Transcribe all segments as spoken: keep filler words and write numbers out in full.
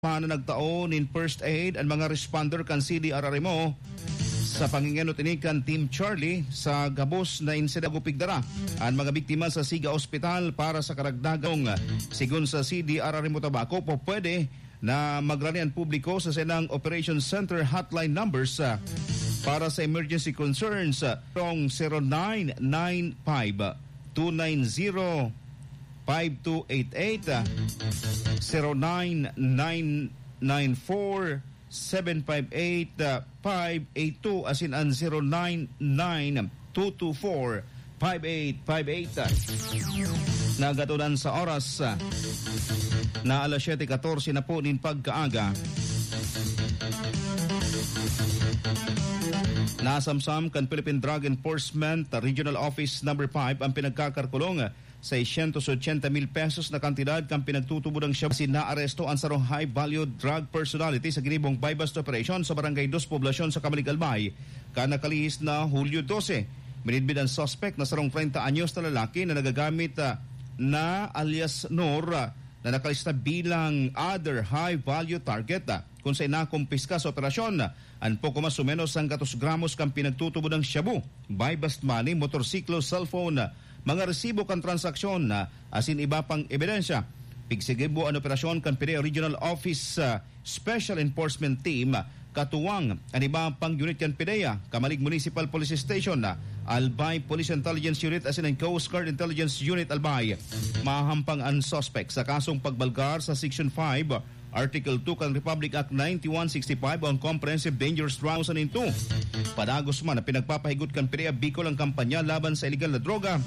na nagtao nin first aid an mga responder kan C D R R M O. Sa pangingenot ini kan Team Charlie, sa gabos na insidente, gupigdara an mga biktima sa Siga Ospital para sa karagdagang. Sigon sa C D R R M O Tabaco, po pwede na magrani an publiko sa saindang Operation Center hotline numbers, ah, para sa emergency concerns, ah, tong zero nine nine five two nine zero five two eight eight, ah, zero nine nine nine four seven five eight, ah, five eight two, asin an zero nine nine two two four five eight five eight. Nagatunan sa oras, ah, na alas siyete katorse na po nin pagkaaga. Nasamsam kan Philippine Drug Enforcement Regional Office Number five ang pinagkakarkulong seiscientos ochenta mil pesos na kantidad kan pinagtutubodang shabu. Asin naaresto an sarong high-value drug personality sa ginibong buy-bust operation sa Barangay Dos Poblacion sa Camalig, Albay, kan nakalihis na Hulyo dose. Minidbid an suspek na sarong treinta anyos na lalaki na nagagamit, ah, na alias Nor, ah, na nakalista bilang other high-value target, ah, kun saen nakumpiska sa operasyon an poko mas o menos sanggatos gramos kan pinagtutubodang shabu, buy-bust money, motorsiklo, cellphone, mga resibo kan transaksyon, asin iba pang ebidensya. Pigsigibo an operasyon kan P D A Regional Office, ah, Special Enforcement Team, katuwang an iba pang unit kan P D A, Camalig Municipal Police Station, Albay Police Intelligence Unit asin an Coast Guard Intelligence Unit Albay. Mahahampang an suspek sa kasong pagbalgar sa Section five, Article two kan Republic Act ninety-one sixty-five o ang Comprehensive Dangerous Drug two thousand two. Padagos man na pinagpapahigot kan P D A Bicol ang kampanya laban sa iligal na droga,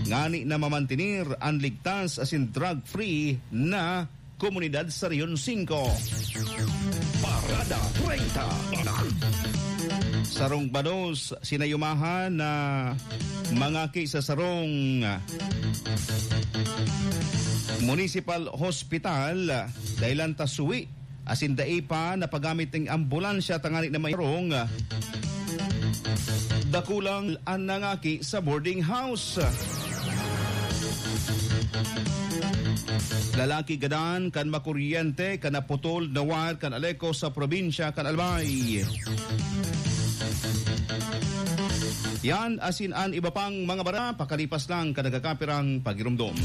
ngani na mamantener an ligtas asin drug-free na komunidad sa Rehiyon singko. Parada treinta. Sarong bados sinayumahan na mangaki sa sarong municipal hospital, dahelan ta suwi asin dai pa napagamit ning ambulansya tangani na may rong dakulang an nangaki sa boarding house. Lalaki gadan kan makuryente kan naputol na wire kan Aleco sa probinsya kan Albay. Yan asin an iba pang mga bara, pakalipas lang kan nagkakapirang pagirumdom.